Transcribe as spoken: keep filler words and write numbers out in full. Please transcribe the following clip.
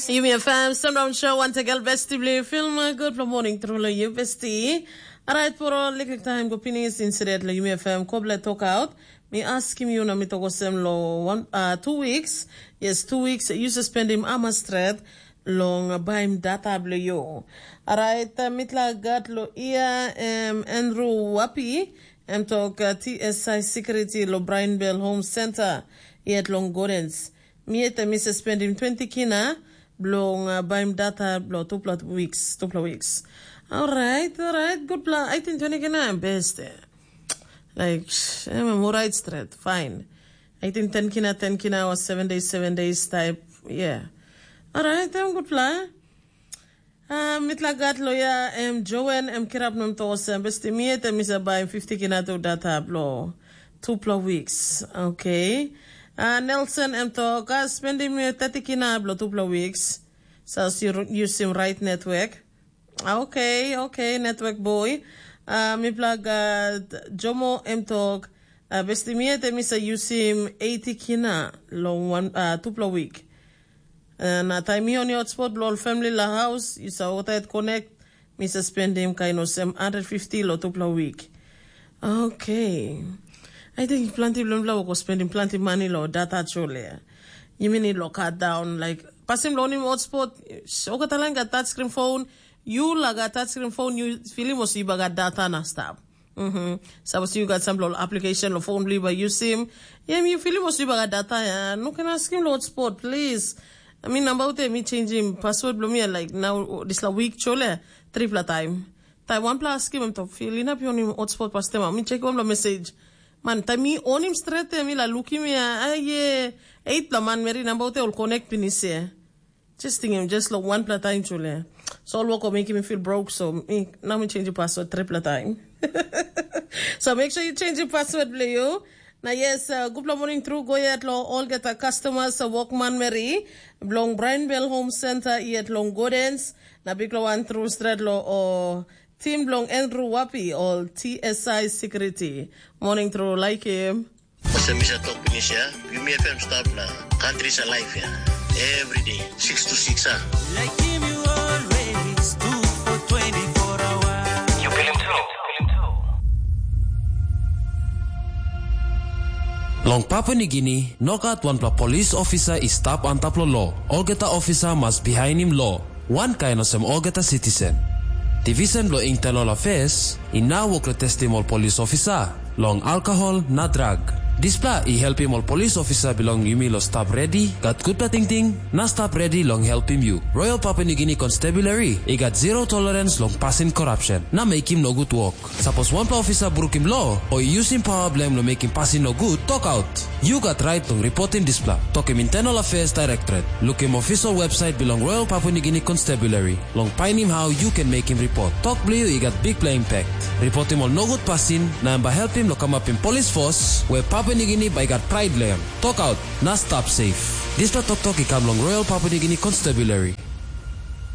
Yumi F M, Sundown Show, wantagal besti bilong film. Good for morning, true lo you besti. Alright, for all liklik time go pinis instead lo Yumi F M, koble talk out. Mi askim you na mi toko sem lo one, uh, two weeks. Yes, two weeks, you spend him ama stret long uh, baim data bilong you. Alright, uh, mitla gat lo ia, um, Andrew Wapi, em tok uh, T S I security lo Brian Bell Home Center, yet long Gordens. Mi yet mi spendim twenty kina bilong uh, baim data bilong tupela weeks, tupela weeks. Alright, alright, good plan. I think twenty kina best. Eh. Like, em right straight, fine. I think ten kina, ten kina or seven days, seven days type. Yeah. Alright, em good plan. Uh, mitla gat loya em Joen em kirap nom to sem besti mi et em isa bai fifty kina tu data blo tupla weeks. Okay. Uh, Nelson em to ka spending mi thirty kina blo tupla weeks. So you use him right network. Okay, okay, network boy. Uh, mitla gat Jomo em to uh, besti mi et em isa use him eighty kina long one uh, tupla week. Na taim mi on hotspot bilong ol famili long haus, yu sa otait konek, mi sa spendim kain olsem hundred fifty long tupela wik. Okay. I think planti bilong mipela wok spendim planti mani long data chole. Yumi need lo cut down, like, pasin bilong onim hotspot, olgeta lain gat touch screen phone, yu laga touch screen phone, yu filim olsem yu bai gat data na stap. Mm-hmm. Sapos yu gat sampela ol application lo phone bilong yu bai yusim, ya mi filim olsem yu bai gat data ya. No ken askim lo hotspot, please. Mi namba ute mi changim password bilong mi like now dispela week chole tripla time. Taim wanpela askim em tok fil inap yu onim hotspot pastem mi chek wanpela message. Man, taim mi onim stret mi la lukim ya, ai ye, eitpela manmeri namba ute ol connect pinis ya. Just tingim, just lo wanpela taim chule. So ol wok o mekim mi feel broke, so mi, now mi change password tripla time. So make sure you change your password bilong you. Na yes, uh, gupla morning through go yet lo olgeta customers, uh, workman meri, bilong Brian Bell Home Center yet long Gordens, na bikla one through straight lo o team bilong Andrew Wapi, all T S I security. Morning through like him. Olsem mi sa tok pinis ya, Yumi F M stap na country sa life ya. Every day, six to six ha. Like him you always do for twenty-four hours. You feel him too. Long Papua Nigini, nogat wanpela polis ofisa i stap antap long lo. Olgeta ofisa mas bihainim lo. Wankain olsem olgeta sitisen. Divisen bilong Internal Affairs i nau wok long testim ol polis ofisa long alkohol na drag. Dispela i helpim ol polis ofisa bilong yumi long stap redi, gat gutpela tingting, na stap redi long helpim yu. Royal Papua Nigini Constabulary i gat zero tolerance long pasin korapsen na mekim nogut wok. Sapos wanpela ofisa brukim lo o i yusim pawa bilong em long mekim pasin nogut, tokaut. Yu gat rait long ripotim dispela. Tokim Internal Affairs Directorate. Lukim official website bilong Royal Papua Nigini Constabulary long painim hau yu ken mekim ripot. Tok bilong yu i gat bikpela impact. Ripotim ol nogut pasin na em bai helpim long kamapim polis fos we Papua Nigini bai i gat prait long em. Tokaut na stap safe. Dispela toktok i kam long Royal Papua Nigini Constabulary.